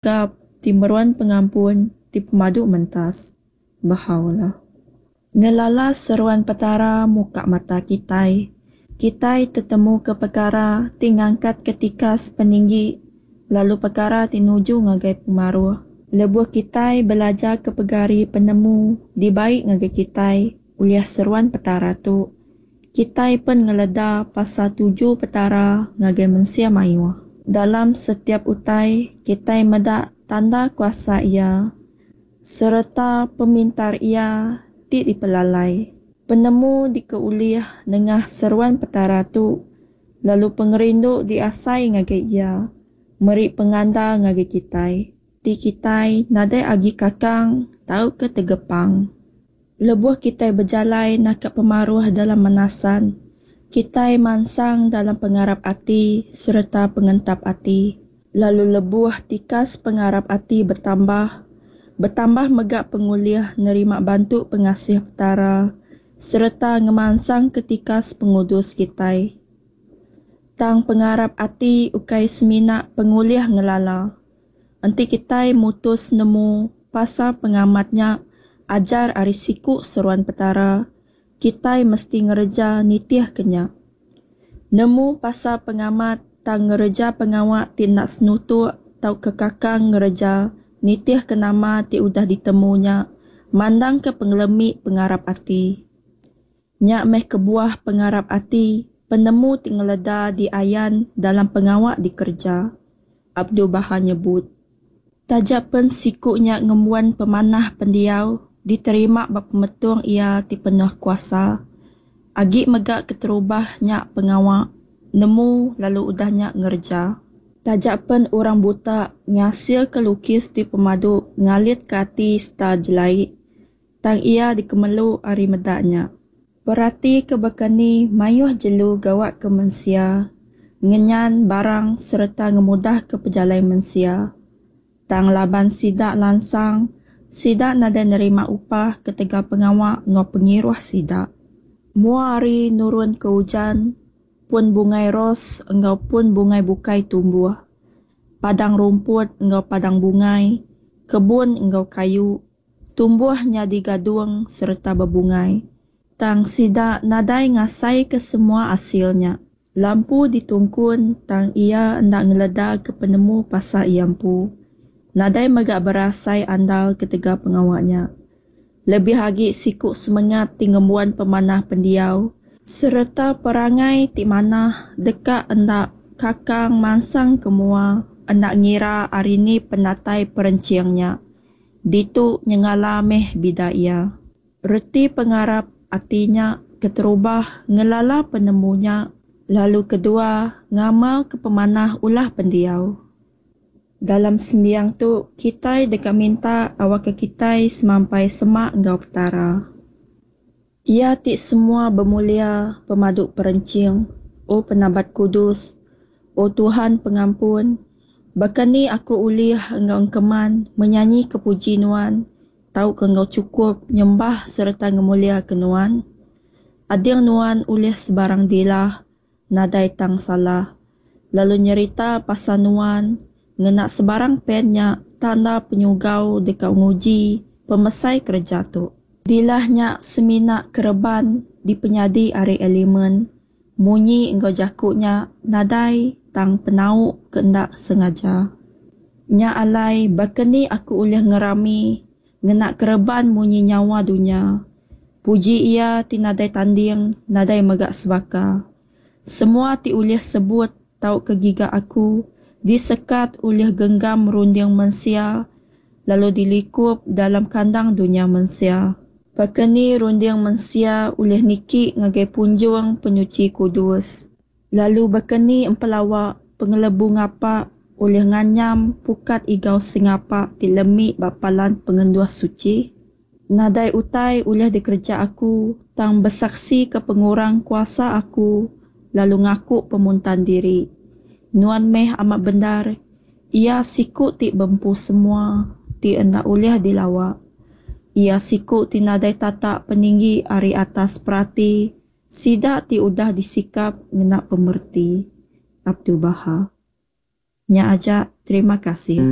Gap, ti Meruan Pengampun, ti Pemadu Mentas. Baha'u'llah. Ngelala seruan Petara muka mata kitai. Kitai tetemuka pekara ti ngangkatka tikas peninggi lalu pekara ti nuju ngagai pemaruh. Lebuh kitai belajarka pegari penemu dibai ngagai kitai ulih seruan Petara tu, kitai pen ngeleda pasal tuju Petara ngagai mensia mayuh. Dalam setiap utai, kitai meda tanda kuasa Iya sereta pemintar Iya ti dipelalai. Penemu dikeulih nengah seruan Petara tu lalu pengerindu diasai ngagai Iya meri pengandal ngagai kitai. Ti kitai nadai agi kakang tauka tegepang. Lebuh kitai bejalai naka pemaruh dalam menasan, kitai mansang dalam pengarap ati sereta pengentap ati. Lalu lebuh tikas pengarap ati betambah, betambah mega pengulih nerima bantu pengasih Petara sereta ngemansangka tikas pengudus kitai. Tang pengarap ati ukai semina pengulih ngelala. Enti kitai mutus nemu pasal pengamat nya ajar ari siku seruan Petara, kitai mesti ngereja nitihka nya. Nemu pasal pengamat tang ngereja pengawa ti enda senutuk tauka kakang ngereja nitihka nama ti udah ditemu nya mandangka pengelemi pengarap ati. Nya meh kebuah pengarap ati, penemu ti ngeleda diayan dalam pengawa dikereja, Abdu'l-Bahá nyebut. Taja pen siku nya ngembuan pemanah pendiau diterima ba pemetung iya ti penuh kuasa, agi mega keterubah nya pengawa nemu lalu udah nya ngereja. Taja pen orang buta ngasilka lukis ti pemadu ngalitka ati sereta jelai, Tang iya dikemelu ari meda nya. Peratika baka ni mayuh jelu gawa ke mensia, ngenyan barang sereta ngemudahka pejalai mensia. Tang laban sida lansang, sida nadai nerima upah ketegal pengawa enggau pengiruh sida. Mua hari nurun ke ujan, pun bungai ros enggau pun bungai bukai tumbuh. Padang rumput enggau padang bungai, kebun enggau kayu, Tumbuh nyadi gadung sereta bebungai. Tang sida nadai ngasaika semua asil nya. Lampu ditungkun tang iya enda ngeledaka penemu pasal iya empu. Nadai mega berasai andal ketegal pengawa nya. Lebih agi siku semengat ti ngembuan pemanah pendiau sereta perangai ti manah deka enda kakang mansang ke mua enda ngira ari ni penatai perenching nya. Ditu nyengala meh bida iya. Reti pengarap ati nya keterubah ngelala penemu nya lalu kedua ngamalka pemanah ulah pendiau. Dalam sembiang tu kitai deka minta awakka kitai semampai semak enggau Petara. Iya ti semua bemulia pemadu perenching, O Penabat Kudus, O Tuhan Pengampun, baka ni aku ulih enggau engkeman menyanyika puji Nuan tauka enggau chukup nyembah sereta ngemuliaka Nuan? Ading Nuan ulih sebarang dilah nadai tang salah, lalu nyerita pasal nuan ngena sebarang pen nya tanda penyugau deka nguji pemesai kereja tu. Dilah nya semina kereban dipenyadi ari elemen munyi enggau jaku nya nadai tang penau ke enda sengaja. Nya alai baka ni aku ulih ngerami Ngena kereban munyi nyawa dunya. Puji Iya ti nadai tanding, nadai mega sebaka. Semua ti ulih sebut tauka giga aku, disekat ulih genggam runding mensia lalu dilikup dalam kandang dunya mensia. Baka ni runding mensia ulih niki ngagai punjung penyuchi kudus? Lalu baka ni empelawa pengelebu ngapa ulih nganyam pukat igau sengapa ti lemi ba palan pengenduh suchi? Nadai utai ulih dikereja aku tang besaksika pengurang kuasa aku lalu ngaku pemuntan diri. Nuan meh amat bendar Iya siku ti bempu semua ti enda ulih dilawa. Iya siku ti nadai tatak peninggi ari atas perati Sida ti udah disikap ngena pemereti. Abdul-Baha. Nya aja. Terima kasih.